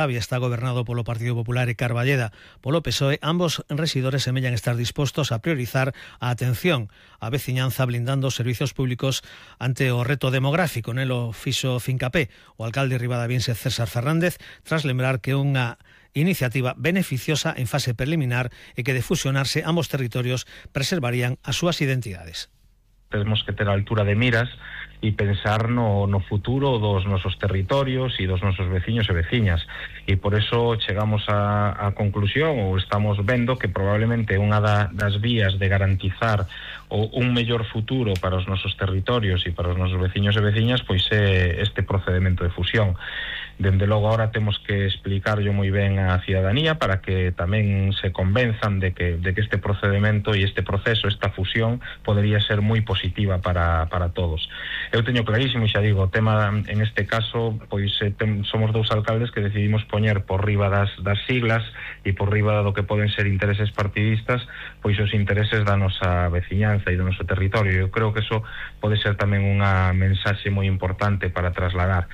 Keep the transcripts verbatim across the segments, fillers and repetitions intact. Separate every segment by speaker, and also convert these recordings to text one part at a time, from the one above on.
Speaker 1: Ribadavia está gobernado polo Partido Popular e Carballeda polo P S O E. Ambos rexidores semellan estar dispostos a priorizar a atención á veciñanza blindando os servizos públicos ante o reto demográfico. Nelo fixo fincapé o alcalde ribadaviense César Fernández tras lembrar que unha iniciativa beneficiosa en fase preliminar e que de fusionarse ambos territorios preservarían as súas identidades.
Speaker 2: Temos que ter a altura de miras e pensar no, no futuro dos nosos territorios e dos nosos veciños e veciñas, e por eso chegamos a, a conclusión, ou estamos vendo que probablemente unha da, das vías de garantizar o, un mellor futuro para os nosos territorios e para os nosos veciños e veciñas pois é este procedimento de fusión. Dende logo agora temos que explicarlo moi ben á cidadanía para que tamén se convenzan de que, de que este procedimento e este proceso, esta fusión, podería ser moi positiva para, para todos. Eu teño clarísimo, xa digo, o tema en este caso, pois tem, somos dous alcaldes que decidimos poñer por riba das, das siglas e por riba do que poden ser intereses partidistas, pois os intereses da nosa veciñanza e do noso territorio. Eu creo que eso pode ser tamén unha mensaxe moi importante para trasladar.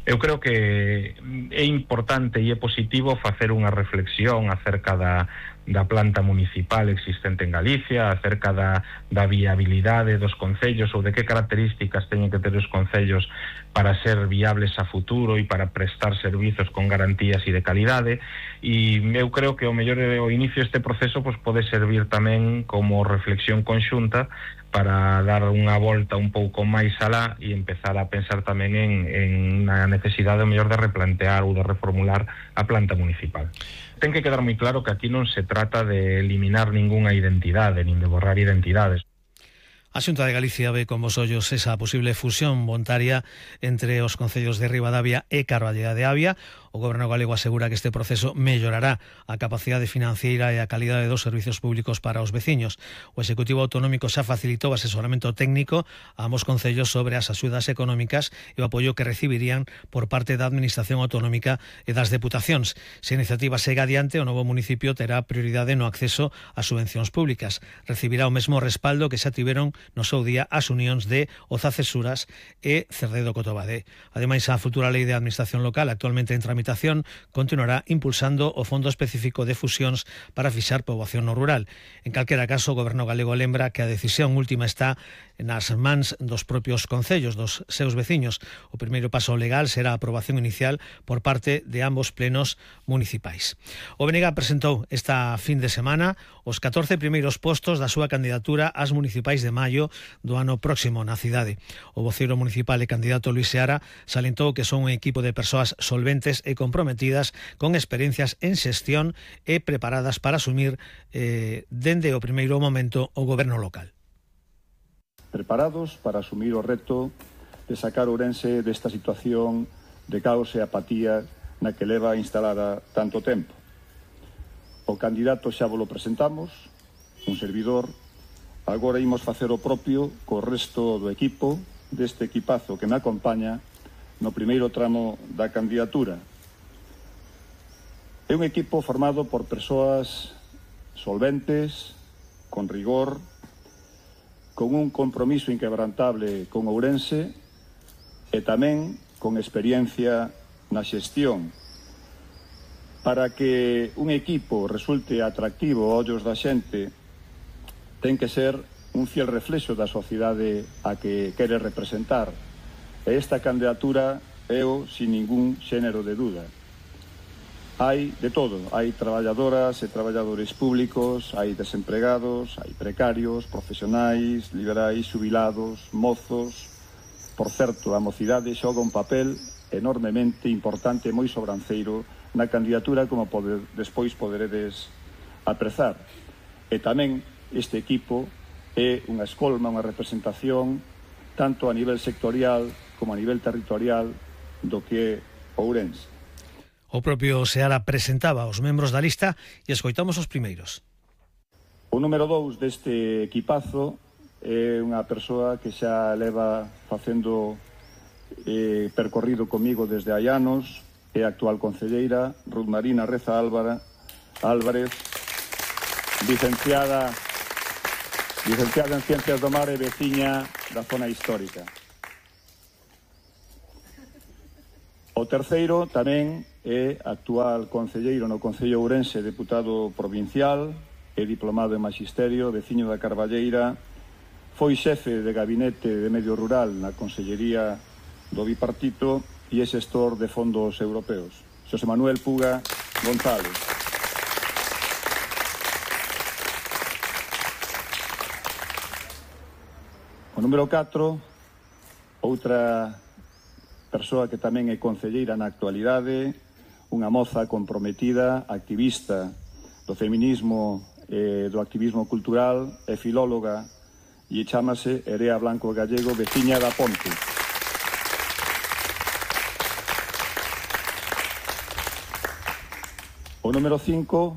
Speaker 2: Eu creo que é importante e é positivo facer unha reflexión acerca da, da planta municipal existente en Galicia, acerca da, da viabilidade dos concellos ou de que características teñen que ter os concellos para ser viables a futuro e para prestar servizos con garantías e de calidade, e eu creo que o mellor o inicio deste proceso pois, pode servir tamén como reflexión conxunta para dar unha volta un pouco máis alá e empezar a pensar tamén en, en a necesidade o mellor de replantear ou de reformular a planta municipal. Ten que quedar moi claro que aquí non se trata de eliminar ningunha identidade, nin de borrar identidades.
Speaker 1: A Xunta de Galicia ve con bos ollos esa posible fusión voluntaria entre os concellos de Ribadavia e Carballeda de Avia. O Goberno galego asegura que este proceso mellorará a capacidade financiera e a calidade dos servizos públicos para os veciños. O Executivo Autonómico xa facilitou asesoramento técnico a ambos concellos sobre as axudas económicas e o apoio que recibirían por parte da Administración Autonómica e das Deputacións. Se a iniciativa segue adiante, o novo municipio terá prioridade no acceso ás subvencións públicas. Recibirá o mesmo respaldo que xa tiveron no seu día as unións de Oza-Cesuras e Cerdedo Cotobade. Ademais, a futura Lei de Administración Local, actualmente en tramitación, continuará impulsando o Fondo Específico de Fusións para fixar poboación no rural. En calquera caso, o Goberno galego lembra que a decisión última está nas mans dos propios concellos, dos seus veciños. O primeiro paso legal será a aprobación inicial por parte de ambos plenos municipais. O B N G presentou esta fin de semana os catorce primeiros postos da súa candidatura ás municipais de maio do ano próximo na cidade. O voceiro municipal e candidato Luis Seara salentou que son un equipo de persoas solventes e comprometidas con experiencias en xestión e preparadas para asumir eh, dende o primeiro momento o goberno local.
Speaker 3: Preparados para asumir o reto de sacar Ourense desta situación de caos e apatía na que leva instalada tanto tempo. O candidato xa vos lo presentamos, un servidor. Agora imos facer o propio co resto do equipo, deste equipazo que me acompaña no primeiro tramo da candidatura. É un equipo formado por persoas solventes, con rigor, con un compromiso inquebrantable con Ourense e tamén con experiencia na xestión. Para que un equipo resulte atractivo aos ollos da xente, ten que ser un fiel reflexo da sociedade a que quere representar. E esta candidatura é o sin ningún xénero de dúda. Hai de todo, hai traballadoras e traballadores públicos, hai desempregados, hai precarios, profesionais, liberais, xubilados, mozos. Por certo, a mocidade xoga un papel enormemente importante e moi sobranceiro na candidatura, como pode, despois poderedes aprezar. E tamén este equipo é unha escolma, unha representación tanto a nivel sectorial como a nivel territorial do que é Ourense.
Speaker 1: O propio Seara presentaba os membros da lista e escoitamos os primeiros.
Speaker 3: O número dous deste equipazo é unha persoa que xa leva facendo eh, percorrido comigo desde hai anos, é a actual concelleira Ruth Marina Reza Álvara, Álvarez, licenciada, licenciada en Ciencias do Mar e veciña da zona histórica. O O terceiro tamén é actual concelleiro no Concello Ourense, deputado provincial, é diplomado en Maxisterio, veciño da Carballeira, foi xefe de gabinete de medio rural na Consellería do Bipartito e é xestor de fondos europeos. Xosé Manuel Puga González. O número catro, outra persoa que tamén é concelleira na actualidade, unha moza comprometida, activista do feminismo e do activismo cultural, é filóloga e chámase Erea Blanco Gallego, veciña da Ponte. O número cinco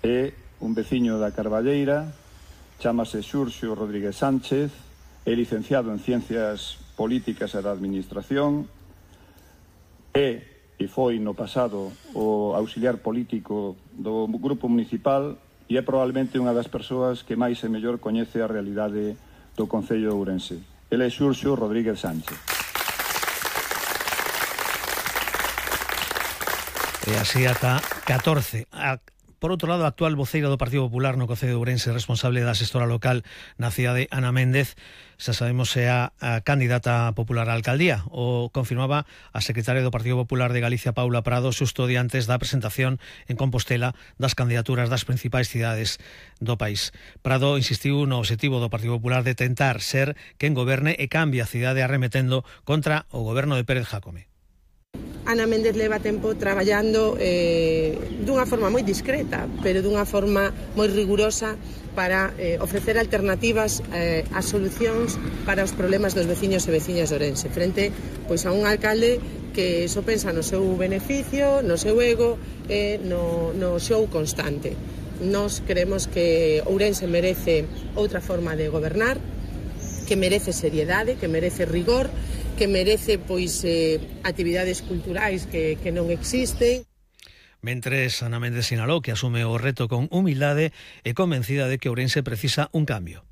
Speaker 3: é un veciño da Carballeira, chámase Xurxo Rodríguez Sánchez, é licenciado en Ciencias Políticas e da Administración, é e foi no pasado o auxiliar político do Grupo Municipal e é probablemente unha das persoas que máis e mellor coñece a realidade do Concello de Ourense. Ele é Xurxo Rodríguez Sánchez.
Speaker 1: E así ata catorce. A Por outro lado, a actual voceira do Partido Popular no Concello de Ourense, responsable da xestora local na cidade, Ana Méndez, xa sabemos se a, a candidata popular á alcaldía. O confirmaba a secretaria do Partido Popular de Galicia, Paula Prado, xusto diantes da presentación en Compostela das candidaturas das principais cidades do país. Prado insistiu no obxectivo do Partido Popular de tentar ser quen goberne e cambie a cidade arremetendo contra o goberno de Pérez Jácome.
Speaker 4: Ana Méndez leva tempo traballando eh, dunha forma moi discreta, pero dunha forma moi rigurosa para eh, ofrecer alternativas eh, a solucións para os problemas dos veciños e veciñas de Ourense, frente pois, a un alcalde que só pensa no seu beneficio, no seu ego e no, no show constante. Nós creemos que Ourense merece outra forma de gobernar, que merece seriedade, que merece rigor, que merece pois eh, actividades culturais que, que non existen.
Speaker 1: Mentres, Ana Méndez sinalou que asume o reto con humildade e convencida de que Ourense precisa un cambio.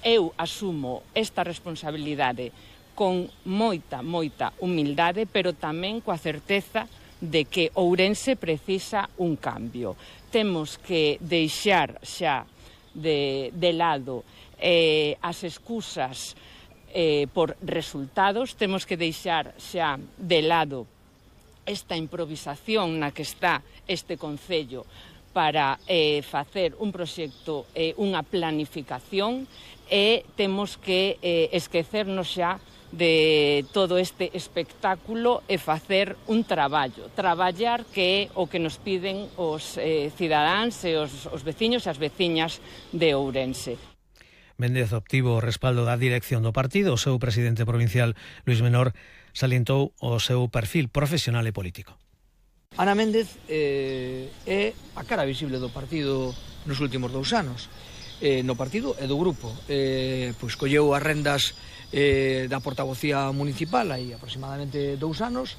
Speaker 5: Eu asumo esta responsabilidade con moita, moita humildade, pero tamén coa certeza de que Ourense precisa un cambio. Temos que deixar xa de, de lado eh, as excusas Eh, por resultados, temos que deixar xa de lado esta improvisación na que está este Concello para eh, facer un proxecto, eh, unha planificación e temos que eh, esquecernos xa de todo este espectáculo e facer un traballo, traballar que é o que nos piden os eh, cidadáns e os, os veciños e as veciñas de Ourense.
Speaker 1: Méndez obtivo o respaldo da dirección do partido. O seu presidente provincial, Luís Menor, salientou o seu perfil profesional e político.
Speaker 6: Ana Méndez eh, é a cara visible do partido nos últimos dous anos, eh, no partido e do grupo. Eh, pois colleu as rendas eh, da portavocía municipal aí aproximadamente dous anos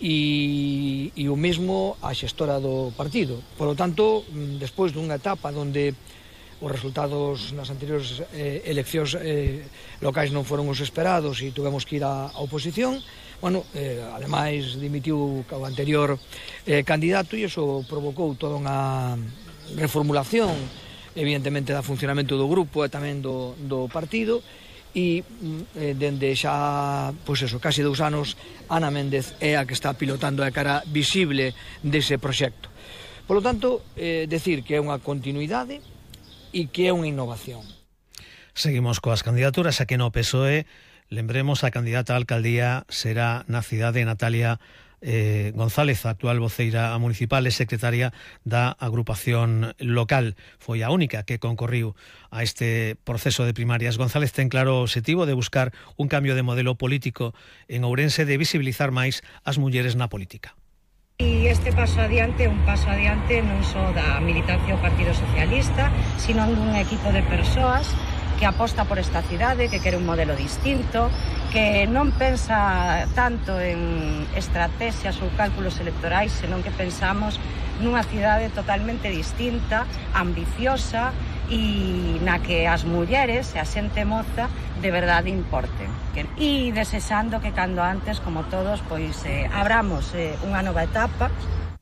Speaker 6: e, e o mesmo a xestora do partido. Por lo tanto, despois dunha etapa onde os resultados nas anteriores eh, eleccións eh, locais non foron os esperados e tuvemos que ir á oposición. Bueno, eh, ademais dimitiu o anterior eh, candidato e iso provocou toda unha reformulación evidentemente da funcionamento do grupo e tamén do, do partido e eh, dende xa, pois eso, casi dous anos Ana Méndez é a que está pilotando a cara visible dese proxecto. Por lo tanto, eh, decir que é unha continuidade e que é unha innovación.
Speaker 1: Seguimos coas candidaturas, a que no P S O E, lembremos, a candidata á alcaldía será na cidade Natalia eh, González, a actual voceira municipal e secretaria da agrupación local. Foi a única que concorriu a este proceso de primarias. González ten claro o obxectivo de buscar un cambio de modelo político en Ourense, de visibilizar máis as mulleres na política.
Speaker 7: E este paso adiante é un paso adiante non só da militancia do Partido Socialista, sino dun equipo de persoas que aposta por esta cidade, que quere un modelo distinto, que non pensa tanto en estrategias ou cálculos electorais, senón que pensamos nunha cidade totalmente distinta, ambiciosa e na que as mulleres e a xente moza de verdade importen. E desexando que cando antes, como todos, pois eh, abramos eh, unha nova etapa